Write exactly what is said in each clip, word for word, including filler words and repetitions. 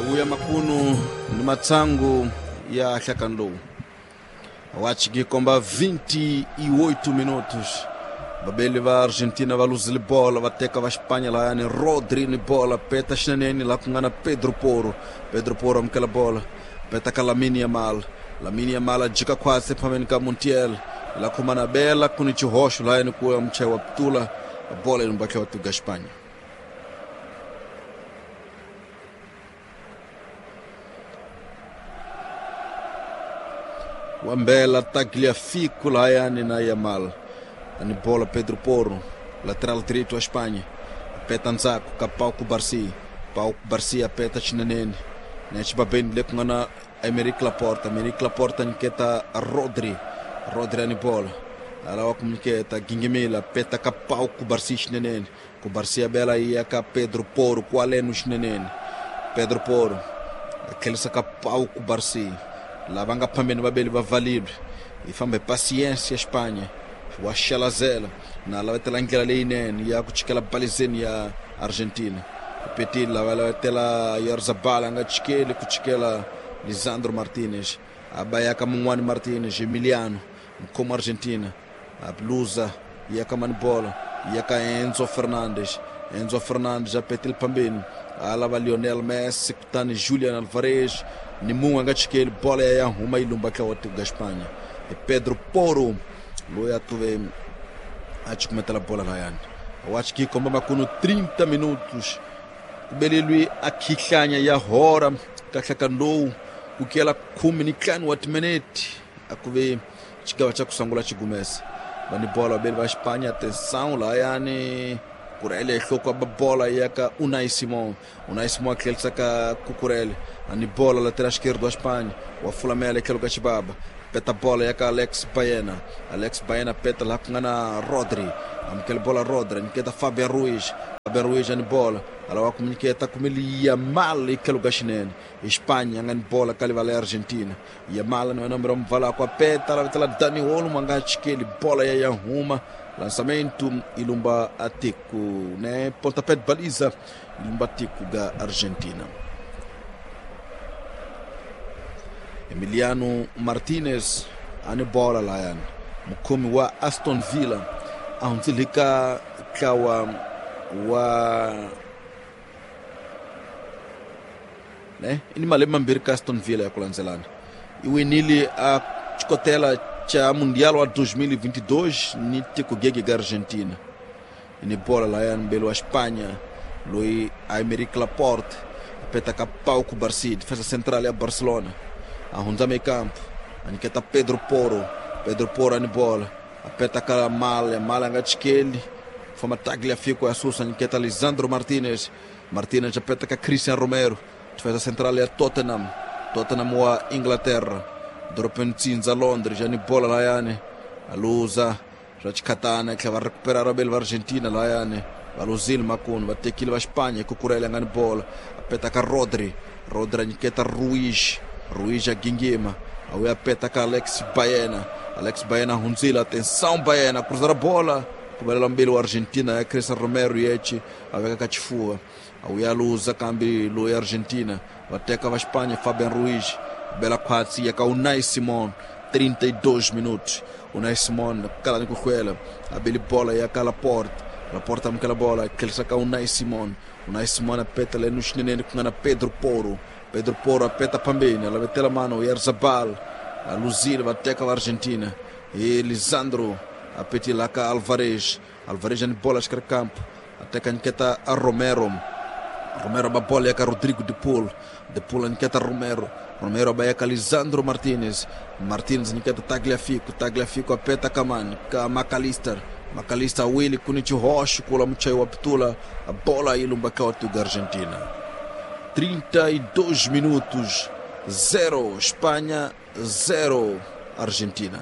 Kuya makunu ni matsangu ya hlakani lowu wachiki komba vinte e oito minutos. Babeli va Argentina va luzile bola, va teka va Espanha lahayani Rodri ni bola, peta xinenene laha ku nga na Pedro Porro. Pedro Porro amukela bola, peta ka Lamine Yamal. Lamine Yamal a jika khwatsi ephambeni ka Montiel, la khoma na bela ku ni xihoxo lahayani ku ya muchayi wa putula bola yi lumba wa tuga Espanha. Wambela Tagliafico lahayani na Yamal. Ani bola Pedro Porro, lateral direito a Espanha. Peta ndzhaku ka Pau Cubarsí. Pau Cubarsí apeta xinenene. Nexi babeni le ku nga na Aymeric Laporte. Aymeric Laporte nyiketa Rodri. Rodri ani bola. Alawa ku nyiketa Gingimila, peta ka Pau Cubarsí xinenene. Cubarsí abela iya ka Pedro Porro, kwaleno xinenene. Pedro Porro tlherisa ka Pau Cubarsí. Lava nga phambeni vabeli va valile. Yi famba hi paciência Espanha. Wa xelazela na lavetela ndlela leyinene ya ku chikela balizeni ya Argentina. Petile lava lavetela Yarzabal a nga chikeli ku chikela Lisandro Martinez. A ba ya ka mun'wani Martinez, Emiliano mukhomi Argentina. A bluza ya ka mani bola ya ka Enzo Fernandez. Enzo Fernandez a petile phambeni a lava Lionel Messi kutani Julian Alvarez ni mun'we a nga chikeli bola ya ya huma yi lumba tlawa tiko ga Espanha. E Pedro Porro loyi a tuve a chikumetela bola lahayani. Wachi ki komba makunu trinta minutos. Ku belelwi a khihlanya ya hora ka hlakani lowu ku kela khume ni ntlhanu wa timinete a ku ve xigava xa ku sungula xigumesa. Va ni bola vabeli va Espanha, atenção lahayani Kurele enhloko ba bola ya ka Unai Simon. Unai Simon a tlherisa ka Cucurella. Ani bola lateral esquerdo wa Espanha, wa fulamela etlhelo ka xibaba. Peta bola ya ka Alex Baena. Alex Baena peta laha ku nga na Rodri. Amukela bola Rodri, nyiketa Fabian Ruiz. Fabian Ruiz ani bola. Alawa ku nyiketa kumeli Yamal etlhelo ka xinene. Espanha nga ni bola ka livala ya Argentina. Yamal ni nombro mvala kwa peta lavetela Dani Olmo a nga chikeli bola ya ya huma. Lançamento ilumba atiko, né? Pontapé de baliza ilumba atiko ga Argentina. Emiliano Martinez ani bola layani mukhomi wa Aston Villa a hundzile ka ntlawa wa ne i ni malembe mambirhi ka Aston Villa ya ku landzelana. I winile a xikotela xa Mundial wa dois mil e vinte e dois ni tiko gege ga Argentina. Ni bola layani mbeli wa Espanha loyi Aymeric Laporte apeta ka Pau Cubarsí, defesa central ya Barcelona. A hundza meio campo, a nyiketa Pedro Porro. Pedro Porro ani bola, apeta ka Mal, Mal a nga chikeli, fama Tagliafico ya susa, nyiketa Lisandro Martinez. Martinez apeta ka Cristian Romero, defesa central ya Tottenham. Tottenham wa Inglaterra. Dorobeni tsindza Londres, ani bola layani a luza swa xikhatana tlhela va recupera raveli va Argentina layani va luzile makunu va tekile va Espanha Cucurella nga ni bola apeta ka Rodri. Rodri a nyiketa Ruiz. Ruiz a gingima a wuya peta ka Alex Baena. Alex Baena hundzile, atenção Baena cruzar a bola ku velela mbili wa Argentina ya Cristian Romero yechi a veka ka xifuva. A wuya luza kambe loyi Argentina va teka va Espanha Fabian Ruiz bela khwatsi ya ka Unai Simon. Trinta e dois minutos. Unai Simon kala ni ku hlwela a beli bola ya ka Laporte. Laporte amukela bola tlherisa ka Unai Simon. Unai Simon apeta leno xinenene ku nga na Pedro Porro. Pedro Porro apeta phambeni a lavetela mano Yarzabal a luzile va teka va Argentina. E Lisandro apetila ka Alvarez. Alvarez ani bola xikarhi campo ateka nyiketa a Romero. Romero ba bola ya ka Rodrigo de Paul. De Paul nyiketa Romero. Romero ba ya ka Lisandro Martinez. Martinez nyiketa Tagliafico. Tagliafico apeta ka mani ka McAllister. McAllister wili kuni xihoxo kula muchayi wa pitula a bola yi lumba ka wa tuga Argentina. Trinta e dois minutos, zero Espanha, zero Argentina.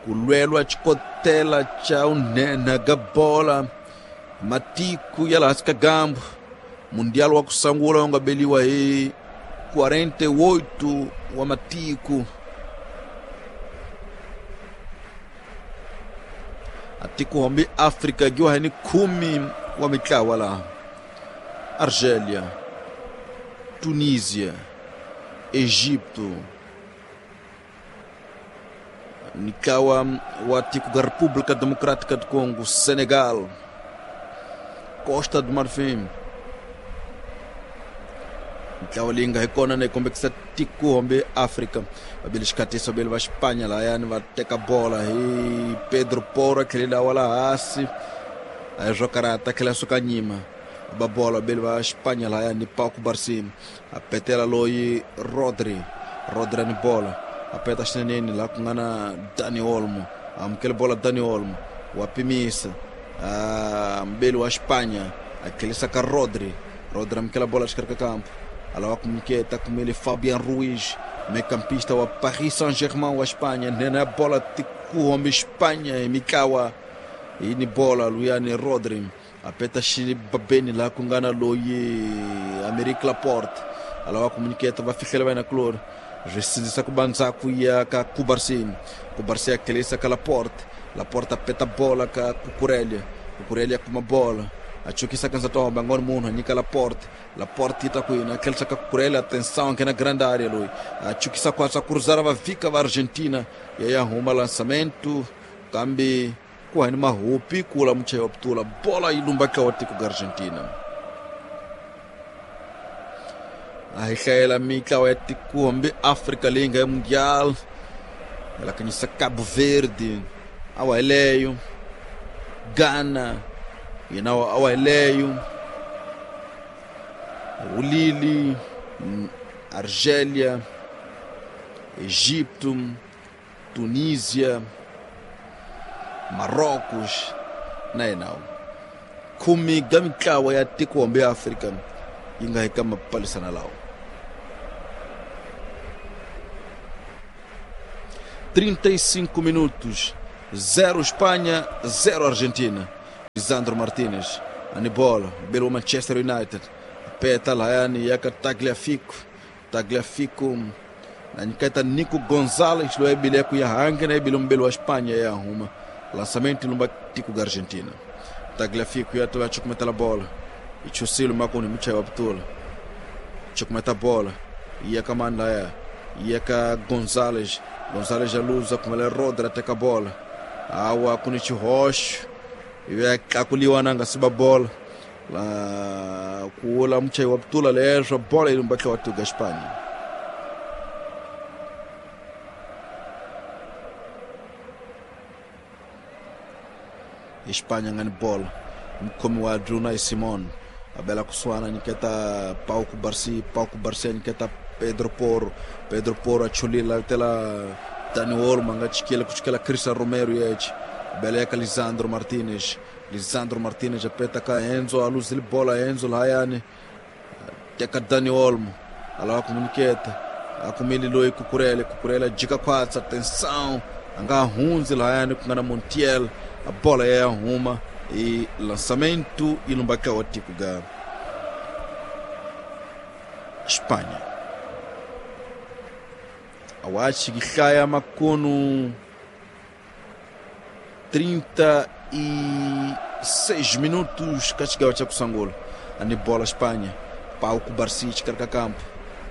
Ku lwelwa xikotela xa unhenha ga bola matiko ya laha ka gambu. Mundial wa ku sungula wu nga beliwa hi quarenta e oito wa matiko. Atiko hambi Afrika giwa hi ni khume wa mitlawa laha. Argélia, Tunísia, Egipto, Nikawa wa tiko ga República Democrática do Congo, Senegal, Costa do Marfim. Ntlawa leyi nga hi kona na yi kombekisa tiko hombe Afrika. Vabili xikhatisa vabili va Espanha layani va teka bola hi Pedro Porro, tlhelela wa laha hansi a hi swo karata, tlhela suka nyima ba bola vabili va Espanha layani Pau Cubarsí a petela loyi Rodri, Rodri ni bola a peta xineneni laha ku nga na Dani Olmo, amukele bola Dani Olmo wa pimisa mbeli wa Espanha a tlhelisa ka Rodri, Rodri amukela bola exikarhi ka kampo alawa kumniketa kumele Fabian Ruiz, meio-campista wa Paris Saint-Germain wa Espanha, nena bola tikuhombe Espanha mikawa ini bola luyani Rodri apeta xibabeni laha ku nga na loyi Amerique Laporte alawa kumniketa va fihlela va yena kulori swi sindzisa ku va ndzhaku ya ka Cubarsí, Cubarsí a tlhelisa ka Laporte, Laporte apeta bola ka Cucurella, Cucurella kuma bola a chukisa ka nsati wa hombe a nga ni munhu a nyika Laporte, Laporte yi ta kwini a tlhelisa ka Cucurella, atenção nghena grande área loyi a chukisa kwatsa cruzar va vika va Argentina ya ya huma lançamento kambe ku hani mahupi kula muchayi wa putula bola yi lumba ka wa tiko ga Argentina. A hi hlayela mitlawa ya tiko hambi Afrika leyi nga ya Mundial ela kanyisa Cabo Verde awa yeleyo, Ghana yena awa yeleyo, Ulili, Argélia, Egipto, Tunísia, Marrocos na yena khume ga mitlawa ya tiko hambi ya Afrika yi nga eka mapalisana lawa. trinta e cinco minutos, zero Espanha, zero Argentina. Lisandro Martinez, ani bola, belo Manchester United, peta layani yaka Tagliafico, Tagliafico na nyiketa Nico Gonzalez loyi bile ku ya hange na ibile mbelo wa Espanha ya huma. Lançamento lumba tiko ga Argentina. Tagliafico ya toa chukumeta la bola. Ichusilo makoni muchayi wa putula. Chukumeta bola. Yaka manda ya. Yaka Gonzalez. Gonzalez aluza kumele Rodri ateka bola. Awa kunichi hosh. Iwe kakuliwa nanga siba bola. La kuula muchayi wa putula lezo bola ilumbaka watu ga Espanha. Espanha ngani bola. Mkhomi wa Unai Simon abela kuswana nyiketa Pau Cubarsí, Pau Cubarsí nyiketa Pedro Porro, Pedro Porro achulila tela Dani Olmo nga chikela kuchikela Cristian Romero yeche abela yaka Lisandro Martinez, Lisandro Martinez apeta ka Enzo aluzile bola Enzo layani teka Dani Olmo alawa kumuniketa akumili loyi Cucurella, Cucurella jika kwatsa atenção anga hunzi layani kungana Montiel a bola ya huma e lançamento e lumba caótico ga Espanha. Awachi gihlaya makono trinta e seis minutos kachigawa cha kusangola ani bola Espanha. Pau Cubarsí carca campo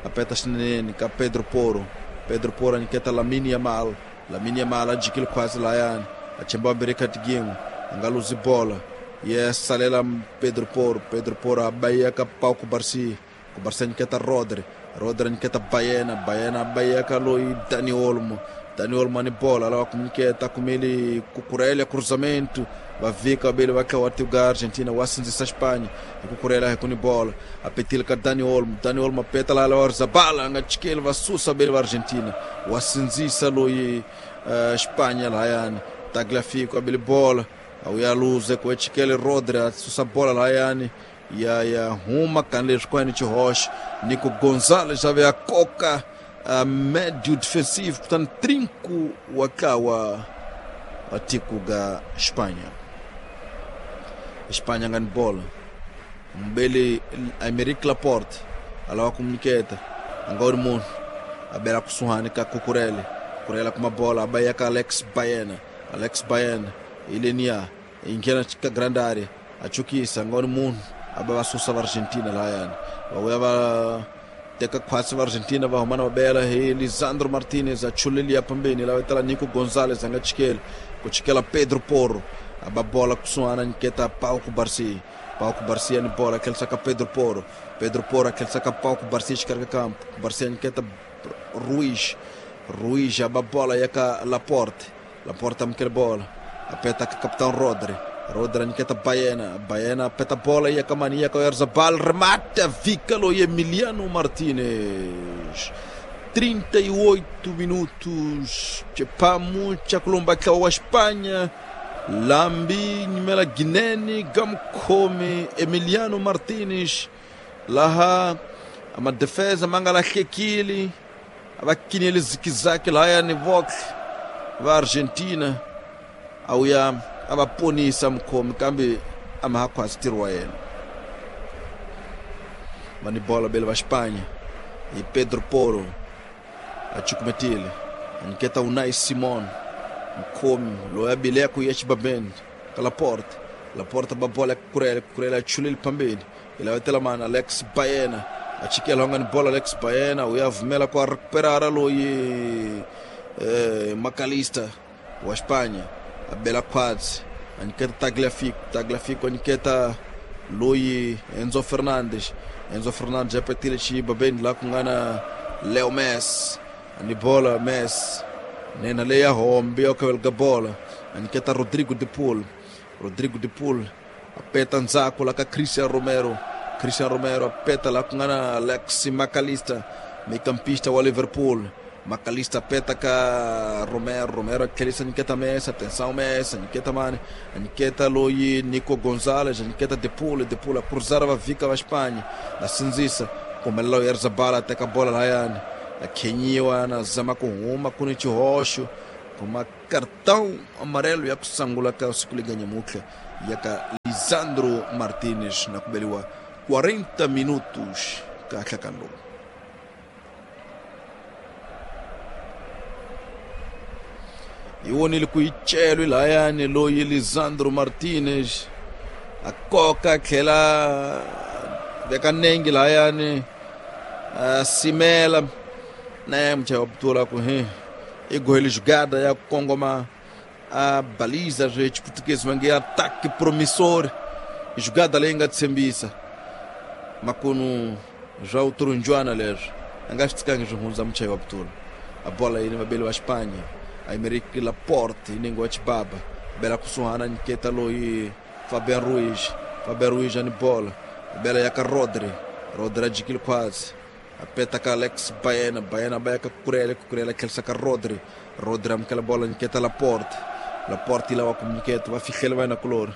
apeta xinene ka Pedro Porro, Pedro Porro aniketa Lamine Yamal, Lamine Yamal ajikile quase layani achemba bereka tigingo angaluzi bola yes salela Pedro Porro, Pedro Porro abaya ka Pau Cubarsí, Cubarsí aniketa Rodri, Rodri aniketa Baena, Baena abaya ka loi Dani Olmo, Dani Olmo ani bola lá kumniketa kumele Cucurella cruzamento vavika bele vakawatiuga Argentina wasinzisa Espanha Cucurella rekuni bola apetile ka Dani Olmo, Dani Olmo apeta lá lá Zabala ngachikele vasusa bele va Argentina wasinzisa loi uh, Espanha layani Tagliafico abele bola auyaluze kuechikele Rodri asusa bola layani ya ya huma kanle skwani chihosh Nico Gonzalez ave a coca a médio defensivo, portanto trinco wakawa atiku ga Espanha. Espanha ngani bola mbele Aymeric Laporte alawa kumuniketa angori munhu abela kusuhani ka Cucurella, Cucurella kuma bola abaya ka Alex Baena, Alex Baena ilenia ingena ka grande área achukisa ngori munhu A va va susa va Argentina lahayani. Va vuya va teka khwatsi va Argentina va huma na va bela hi Lisandro Martinez a chulelia pambeni la vetela Nico Gonzalez a nga chikeli ku chikela Pedro Porro a ba bola kusuhana nyiketa Pau Cubarsí. Pau Cubarsí ni bola tlhelisaka ka Pedro Porro. Pedro Porro tlhelisaka ka Pau Cubarsí exikarhi ka kampo. Cubarsí nyiketa Ruiz. Ruiz a ba bola ya ka Laporte. Laporte amukela bola apeta ka capitão Rodri. Rodri nyiketa Baena. Baena apeta bola ya ka mani ya ka Oyarzabal remata Vícalo e Emiliano Martinez. trinta e oito minutos. Chepamu chakulumba kwa Espanha. Lambi nyimela Guineni Gamkome Emiliano Martinez laha ama defesa manga lahlekile abakinele zikizake lahaya ni Vox va Argentina awuya abaponisa mkhomi kambe amahakhwasi ntirho wa yena. Va ni bola bele va Espanha hi Pedro Porro a cukumetile a nyiketa Unai Simon mkhomi loyi a bileko ya xibabeni ka Laporte. Laporte ba bola Cucurella. Cucurella a chulile phambili i lavetela mani Alex Baena a chikela nga ni bola Alex Baena u ya vumela ku a recuperara loyi eh, Macalista wa Espanha a bela khwatsi a nyiketa Tagliafico. Tagliafico a nyiketa loyi Enzo Fernandes. Enzo Fernandes a petile xibabeni laha ku nga na Leo Messi a ni bola Messi nena leya hombe ya khaveleka bola a nyiketa Rodrigo de Paul. Rodrigo de Paul apeta ndzhaku la ka Christian Romero. Christian Romero apeta la ku nga na Alex Macalista mecampista wa Liverpool. Macalista apeta ka Romero. Romero a tlherisa nyiketa Messi. Atenção Messi nyiketa mani a nyiketa loyi Nico Gonzalez a nyiketa de Paul. De Paul a cruzar va vika va Espanha a sindzisa kumelela Oyarzabal a teka bola lahayani a khenyiwa na zama ku huma ku ni xihoxo kuma cartão amarelo ya ku sangula ka siku leganyamutlha ya ka Lisandro Martinez na ku beliwa quarenta minutos ka nhlakano lowu. Hi vonile ku yi celwi lahayani loyi Lisandro Martinez a koka a tlhela veka nenge lahayani a simela na muchayi wa butula ku he i gohele jugada ya kongoma a baliza zwe chiputukezi va nge ataque promissor jugada leyi nga tshembisa makunu swa uturunjwana leswi a nga swi tsikangi swi hundza muchayi wa butula. A bola yini vabeli va Espanha Aymeric Laporte ningo wa Chibaba bela kusuhana nyiketa loyi Fabian Ruiz. Fabian Ruiz a ni bola bela ya ka Rodri. Rodri a jikile khwatsi apeta ka Alex Baena. Baena ba ya ka Cucurella. Cucurella tlherisa ka Rodri. Rodri amukela bola nyiketa Laporte. Laporte yi lava ku nyiketa va fihlela va yena kulori.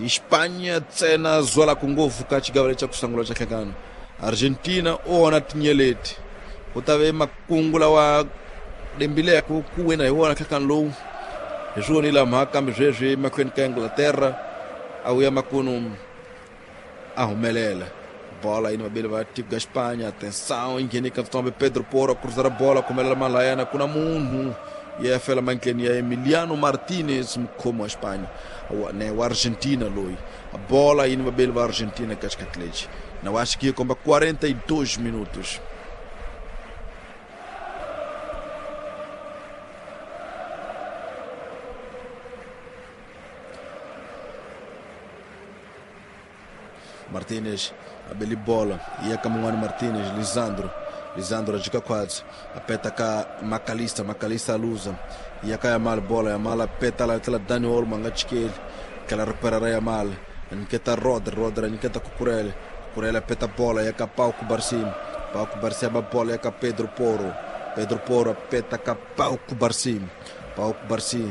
Espanha ntsena zwalaku ngopfu ka xigava lexi xa ku sungula xa nhlangano. Argentina u onha tinyeleti ku ta ve makungu lawa lembileke ku wina hi wona nhlangano lowu hi swi vonile mhaka kambe sweswi emahlweni ka Inglaterra a wuya makunu a humelela bola yini vabeli va tiko ga Espanha. Atenção yi ka ntsombe Pedro Porro a cruzar bola kumelela malayana ku na munhu ya fela mantleni ya Emiliano Martinez mukhomi wa Espanha ne wa Argentina loyi a bola yini vabeli va Argentina ka xikhathi lexi na wa xi komba quarenta e dois minutos. Martinez abeli bola ia ka mun'wana Martinez Lisandro. Lisandro a jika khwatsi apeta ka Macalista. Macalista a luza ia ka Yamal bola Yamal apeta la tlhela Dani Olmo a nga chikeli tlhela recuperara Yamal a nyiketa Rodri. Rodri a nyiketa Cucurella. Cucurella apeta bola ya ka Pau Cubarsí. Pau Cubarsí aba bola ya ka Pedro Porro. Pedro Porro apeta ka Pau Cubarsí. Pau Cubarsí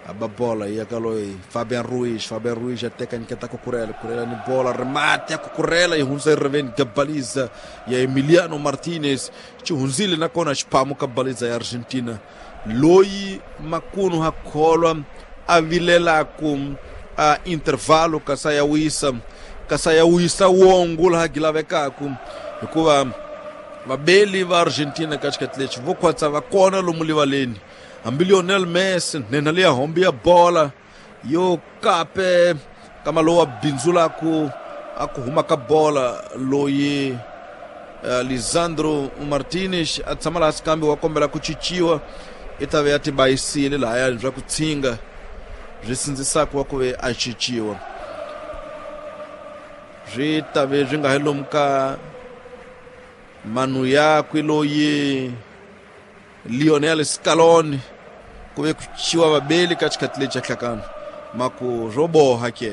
aba bola ia ka loyi Fabian Ruiz. Fabian Ruiz ateka nyiketa Cucurella. Cucurella ni bola remate ya Cucurella yi hundza yi riveni ka baliza ya Emiliano Martinez xi hundzile nakona xiphamu ka baliza ya Argentina loyi makunu ha kholwa a vilelaku a intervalo kasi a ya wisa kasi a ya wisa wongo laha gilavekaku hikuva vabeli va Argentina ka xikhathi lexi vo khwatsa va kona lomu livaleni hambi Lionel Messi nhenha leya hombi ya bola Yo kape kama lowa bindzula ku a ku huma ka bola loyi uh, Lisandro Martinez a tshama laha kambe wa kombela ku cinciwa i ta ve ya tibayisile lahaya swa ku tshinga swi sindzisaka wa ku ve a cinciwa swi ta ve swi nga he lomu ka manu yakwe loyi Lionel Scaloni ku ve ku ciwa vabeli ka xikhathi lexi xa hlakano maku swo boha ke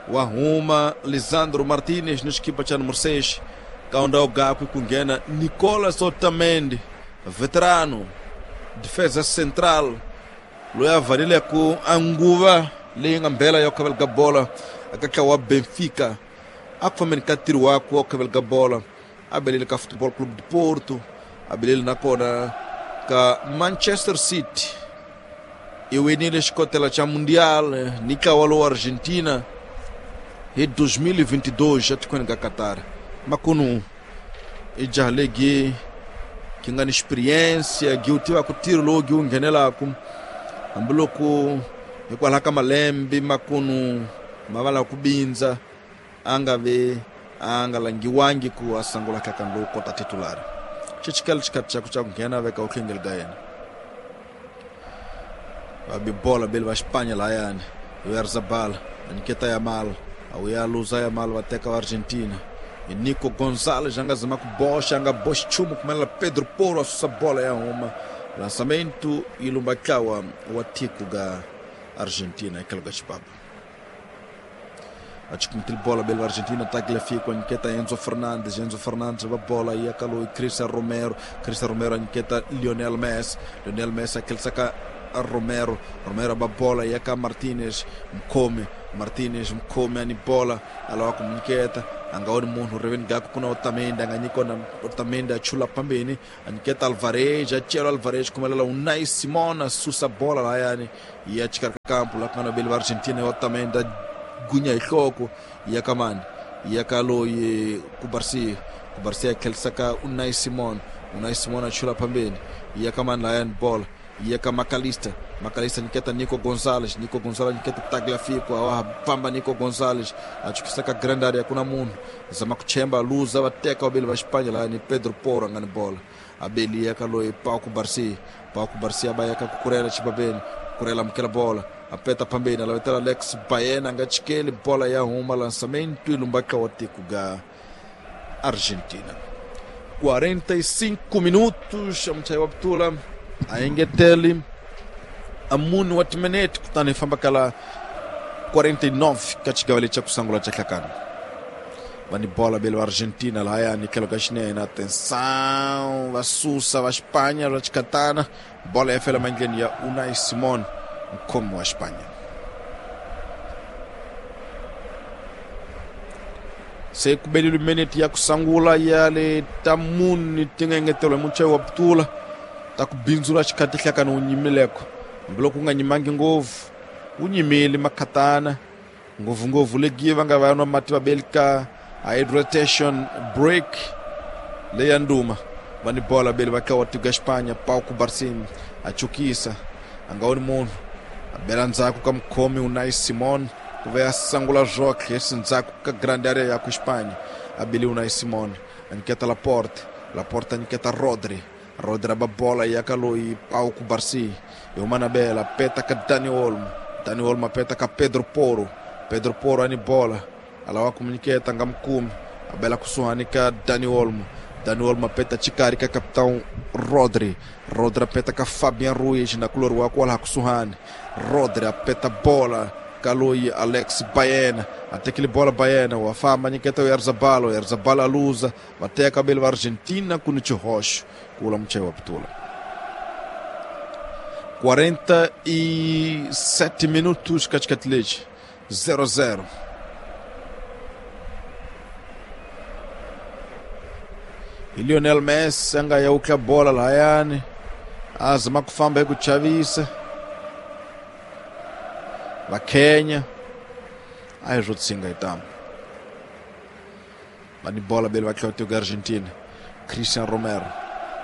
wa huma Lisandro Martinez ni xikipa xa numero seis kaunda gakwe ku nghena Nicolas Otamendi veterano defesa central loyi a valile ku a nguva leyi nga mbela ya khavela ka bola aka ntlawa wa Benfica a ku fambeni ka ntirho wakwe wa khavela ka bola a belele ka Futebol Clube de Porto a belele nakona ka Manchester City i winile xikotela xa Mundial ni ntlawa lowu Argentina hi dois mil e vinte e dois etikweni ka Qatar makunu i jaha legi ki nga ni experiência gi wu tivaka ntirho lowu gi wu nghenelaka hambiloko hikwalaho ka malembe makunu ma va lava ku bindza a nga ve a nga langiwangi ku a sungula nhlakano lowu kota titulari xi chikela xikhathi xa ku xa ku nghena veka u hlengeli ka yena va bi bola beli va Espanha lahayani Oyarzabal a nyiketa Yamal a wu ya luza Yamal va teka va Argentina hi Nico Gonzalez a nga zama ku boxa a nga boxi nchumu kumelela Pedro Porro a susa bola ya huma lançamento yi lumba ntlawa wa tiko ga Argentina etlhelo ka xipapa a chikumitile bola beli va Argentina Tagliafico a nyiketa Enzo Fernandez Enzo Fernandez va bola yi ya ka loyi Cristian Romero Cristian Romero a nyiketa Lionel Messi Lionel Messi a tlherisa ka Romero Romero va bola ya ka Martinez mkhomi Martinez mkhomi ani bola a lava ku nyiketa a nga voni munhu riveni gaku kuna Otamendi a nga nyiki kona Otamendi a chula phambeni a nyiketa Alvarez a cela Alvarez khumelela Unai Simon a susa bola lahayani ya xikarhi ka kampu laha ku nga na veli va Argentina ya Otamendi a gunya hi nhloko ya ka mani ya ka loyi Kubarsi Kubarsi a tlherisa ka Unai Simon Unai Simon a chula phambeni ya ka mani lahayani bola ya ka Macalista Macalista nyiketa Nico Gonzalez Nico Gonzalez nyiketa Tagliafico a famba Nico Gonzalez a chukisa ka grande area kuna munhu zama ku chemba luza va teka vabeli va Espanha lahayani Pedro Porro a nga ni bola a beli ya ka loyi Pau Cubarsí Pau Cubarsí a ba ya ka Cucurella xibabeni Cucurella amukela bola a peta phambeni a lavetela Alex Baena a nga chikeli bola ya huma lançamento yi lumba ntlawa tiko ga Argentina quarenta e cinco minutos a muchayi wa putula a engeteli a munhu wa timinete kutani hi famba kala quarenta e nove ka xigava lexi xa ku sungula xa hlakano va ni bola beli va Argentina lahayani tlhelo ka xinene atenção va susa va Espanha va xikatana bola ya fela mandleni ya Unai Simon mkhomi wa Espanha se ku belile minete ya ku sungula ya le ta muni ti nga engeteriwa hi muchayi wa putula ta ku bindzula xikhathi hlakano wu nyimileko hambiloko wu nga nyimangi ngopfu wu nyimile makhatana ngopfungopfu legi va nga va nwa mati va beli ka hydration break leya nduma va ni bola beli va tlawa tiko ya Espanha Pau Cubarsí a chukisa a nga voni munhu a bela ndzhaku ka mukhomi Unai Simon ku ve a sangula zwoxe esi ndzhaku ka grande area ya ku Espanha a beli Unai Simon a nyiketa Laporte Laporte a nyiketa Rodri Rodri ba bola ya ka loyi Pau Cubarsí hi huma na bela peta ka Dani Olmo Dani Olmo a peta ka Pedro Porro Pedro Porro ani bola a lava ku nyiketa nga mukumi a bela kusuhani ka Dani Olmo Dani Olmo a peta xikarhi ka capitão Rodri Rodri a peta ka Fabian Ruiz na kulori wa kwalaha kusuhani Rodri a peta bola ka loyi Alex Baena a tekile bola Baena wa famba nyiketa Oyarzabal Oyarzabal a luza va teka beli va Argentina ku ni xihoxo ku vula muchayi wa putula quarenta e sete minutos ka xikhathi lexi zero zero hi Lionel Messi a nga ya wutla bola lahayani a zama ku famba hi ku chavisa va Kenya a hi swo tshinga hi tamo va ni bola beli va tlhela tiko ya Argentina Cristian Romero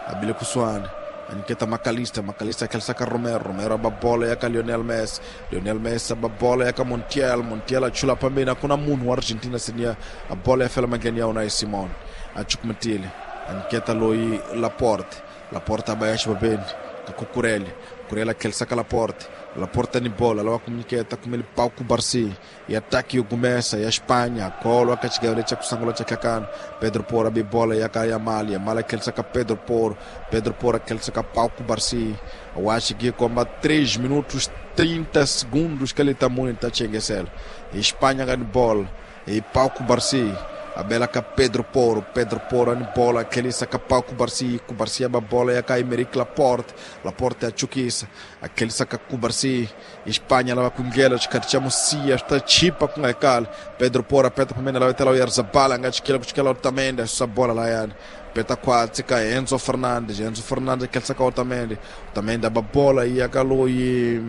a bile kusuhani Aniketa Makalista, Makalista akhelisa ka Romero, Romero aba bola ya ka Lionel Messi, Lionel Messi aba bola ya ka Montiel, Montiel achula pambeni akuna munhu wa Argentina senior, a bola ya fela mangeni ya Unai Simon, achukumetile, aniketa loyi Laporte, Laporte aba ya xibabeni ka Cucurella, Cucurella akhelisa ka Laporte, Laporte ni bola lava kumniketa kumele Pau Cubarsí e ataque o começa e a Espanha colo a chegava cha kusangula cha kakana Pedro Porro abi bola ya ka Yamal, Yamal akhelisa ka Pedro Porro, Pedro Porro akhelisa ka Pau Cubarsí. Eu acho que como três minutos trinta segundos que ele tá muito tá chengesel. Espanha ganha bola e Pau Cubarsí a bela ka Pedro Porro, Pedro Porro ni bola aquele saca Pau Cubarsí, Cubarsí a bola ya ka Aymeric Laporte, Laporte a chukisa, aquele saca Cubarsí, Espanha lava com gelo, chikaticha Cia, está chipa com a Pedro Porro aperta para mim, ela vai ter lá o Yarzabala, ngachikela kuchikela Otamendi, essa bola lá ya. Peta quatro, ka Enzo Fernandes, Enzo Fernandes aquele saca Otamendi, Otamendi a bola e a Galo e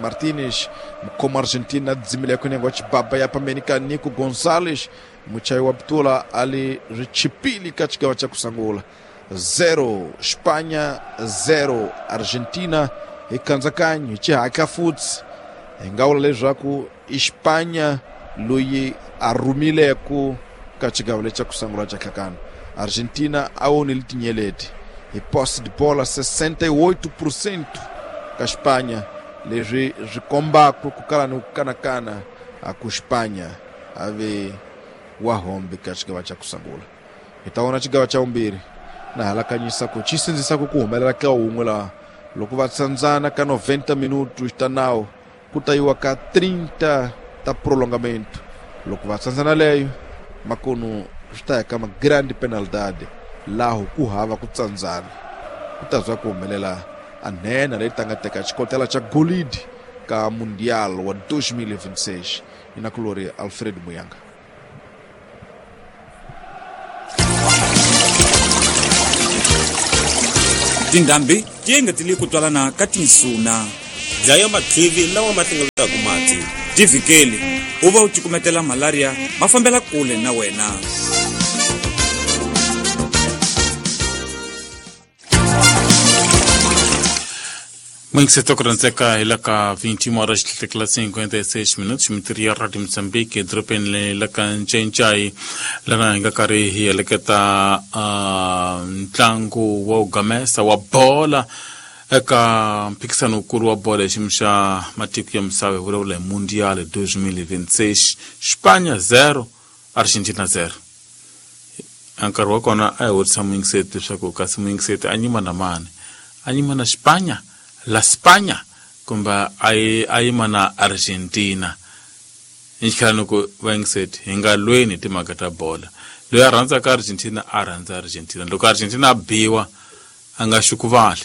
Martínez, como Argentina desimilha com o negócio baba ya para mim, Nico Gonzalez, Muchayo Abdullah ali richipili katika cha kusangula zero Espanha zero Argentina ikanzakanyo chihaka futs ngawula leswaku Espanha loyi a rhumileku ka xigavo lexa ku sungula xa hlakana Argentina a onile tinyeleti hi posse de bola sessenta e oito por cento ka Espanha leswi swi kombaka ku kala ni ku kanakana a ku Espanha a ve wa hombe ka xigava xa ku sungula hi ta vona xigava xa vumbirhi na halakanyisa ku xi sindzisa ku ku humelela ka wun'we laha loko va tsandzana ka noventa minutos ta nawu ku ta yiwa ka trinta ta prolongamento loko va tsandzana leyo makunu swi ta ya ka ma grande penalidade laho ku hava ku tsandzana ku ta zwa ku humelela a nhenha leyi ta nga teka xikotela xa golidi ka Mundial wa dois mil e vinte e seis inakulori Alfred Muyanga. Tindhambi ti engetele ku twalana ka tinsuna. Dlaya mathivi lawa ma hlengeletaka mati. Ti vhikeli u va u cukumetela malaria ma fambela kule na wena. Muito kuranzeka hi la ka vinte e uma horas cinquenta e seis minutos mitiri ya Radio Mozambique edorobeni la ka Ncencai lana hi nga karhi hi heleketa ntlangu wa gamesa wa bola eka mphikisano wukulu wa bola hi xiyimo xa matiko ya misava hi vulavula hi Mundial dois mil e vinte e seis Espanha zero Argentina zero. Nkarhi wa kona a hi vutisa muyingiseti leswaku kasi muyingiseti a nyima na mani, a nyima na Espanha la España kumbe a yima na Argentina. Ni ku vayingiseti hi nga lweni timhaka ta bola. Loyi a rhandzaka Argentina a rhandza Argentina, loko Argentina a biwa a nga xukuvali.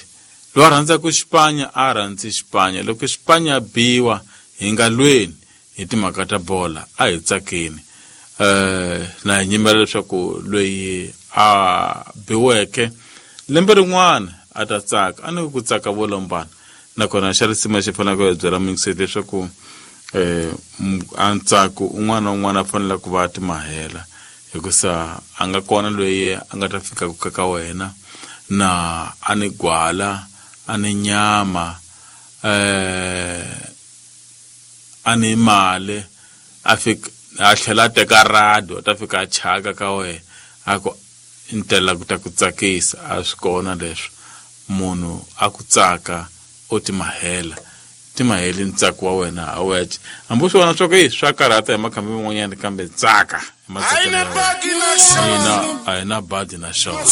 Loyi a rhandzaka España a rhandzi España, loko España a biwa hi nga lweni hi timhaka ta bola, a hi tsakeni. Eh na hi nyimela leswaku loyi a biweke lembe rin'wana a ta tsaka, a ni ku tsaka vo lombana. Nakona xa risima xi faneleke ku hi byela muyingiseti leswaku eh a ntsako un'wana na un'wana a fanele ku va a timahela, hikusa a nga kona loyi a nga ta fika ku ka wena na a ni gwala, a ni nyama, eh a ni mali, a fika a tlhela a teka radio a ta fika a chaka ka wena a ku ntela ku ta ku tsakisa. A swi kona leswi munhu a ku tsaka u timahela, timaheli ntsako wa wena a wu hexe. Hambi swi vona swa ku swa karhata hi makhambi man'wanyana, kambe tsaka hi matsakelo ya wena. Hina a hi na badi na xona.